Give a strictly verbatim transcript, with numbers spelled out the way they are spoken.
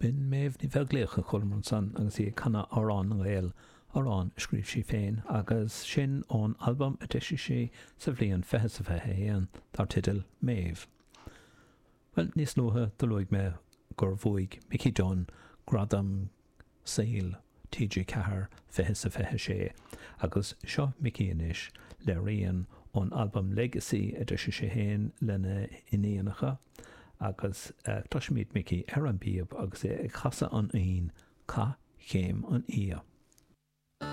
B'in Méabh Ní Bheaglaoich a chualamar ansan agus í ag canadh Amhrán na nGael, amhrán a scríobh sí féin, agus sin ón albam a d'eisigh sí sa bhliain fiche 's a fiche a haon, dar teideal Méabh. Bhuel, níos luaithe do luaigh mé gur bhuaigh Mickey Dunne gradam saoil T G ceathair fiche 's a fiche sé, agus seo Mickey anois le rian ón albam Legacy a d'eisigh sé féin lena iníonacha, agus cloisfimid Mickey ar an bpíob agus é ag casadh an fhoinn Cath Chéim an Fhia.